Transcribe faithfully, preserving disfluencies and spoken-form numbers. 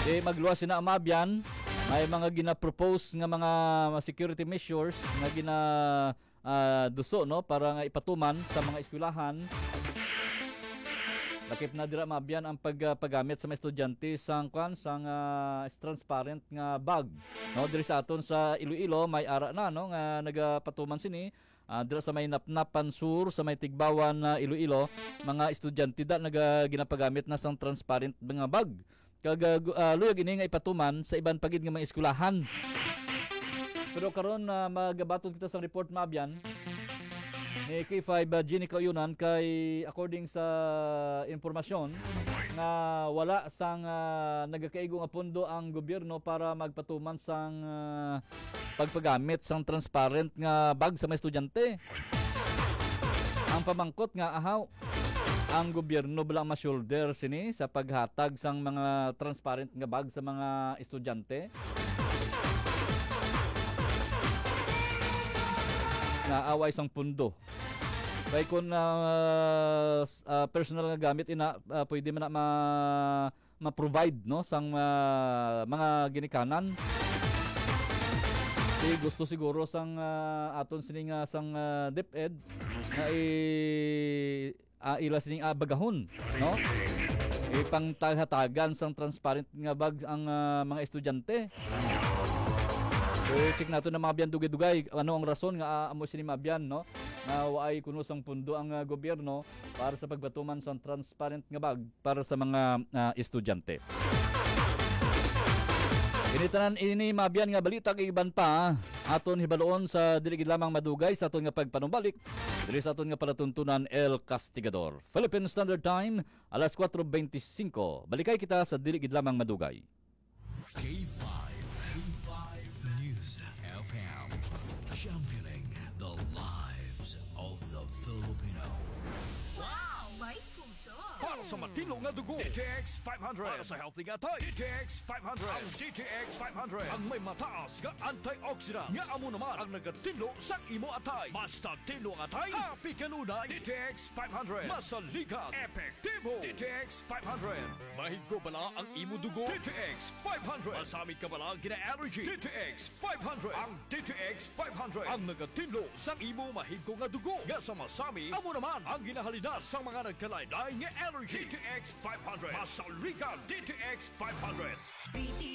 Di magluwas sina, mga abyan, may mga ginapropose nga mga security measures nga gina ah, duso, no, para nga ipatuman sa mga eskwelahan. Lakip na dira, mga abyan, ang pag, ah, paggamit sa mga estudyante sang, kwan, sang, ah, transparent nga bag, no? Diri sa aton sa Iloilo, may ara na, no, nga nagapatuman sini. Ah, dira sa may Napnapan Sur, sa may Tigbawan na Iloilo, mga estudyante da naga-, ginapagamit na sang transparent nga bag. Kag, ah, gu-, ah, luyag ini nga ipatuman sa iban pa gid nga mga eskwelahan. Pero karon, ah, magabaton kita sa report, mga abyan, ni K five, ah, Jeannie Kauyonan, kay according sa impormasyon nga wala sang, ah, nagakaigo nga pondo ang gobyerno para magpatuman sang, ah, pagpagamit sang transparent nga bag sa mga estudyante. Ang pamangkot nga, ahaw, ang gobyerno bala ma-shoulder sini sa paghatag sang mga transparent nga bag sa mga estudyante? Naaway sang pundo. Kay kung, ah, s-, ah, personal nga gamit ina, ah, pwede man na ma-, ma-provide, no, sang, ah, mga ginikanan. Di gusto siguro sang, ah, aton sini nga sang, ah, DepEd nga i-, ah, ila sining, ah, bagahon, no? Ipangtaghatagan sang transparent nga bag ang, ah, mga estudyante. So, check nato na, mga abyan, dugay-dugay. Ano ang rason nga, ah, amo sini, mga abyan, no? Nga waay kuno sang pundo ang, ah, gobyerno para sa pagpatuman sang transparent nga bag para sa mga, ah, estudyante. Ini tanan ini, mga abyan, nga balita kag iban pa aton hibaluon sa dili gid lamang madugay sa aton nga pagpanumbalik diri sa aton nga palatuntunan, El Castigador. Philippine Standard Time, alas kuwatro bente singko. Balikay kita sa dili gid lamang madugay. K five, K five News F M, championing the lives of the Filipino. Wow! May puso! Para sa matinlo nga dugo, D T X five hundred. Para sa healthy nga atay, D T X five hundred. Ang D T X five hundred ang may mataas nga antioxidant, nga amo naman ang nagatinlo sa imo atay. Basta tinlo ang atay, happy kanunay. D T X five hundred, masaligan, epektibo. D T X five hundred, mahigo bala ang imo dugo. D T X five hundred, masami ka bala gina-allergy. D T X five hundred, ang D T X five hundred ang nagatinlo sa imo mahigo nga dugo nga sa masami, amo naman ang ginahalinas sa mga nagkalain-lain nga allergy. D T X five hundred, masaligan. D T X five hundred.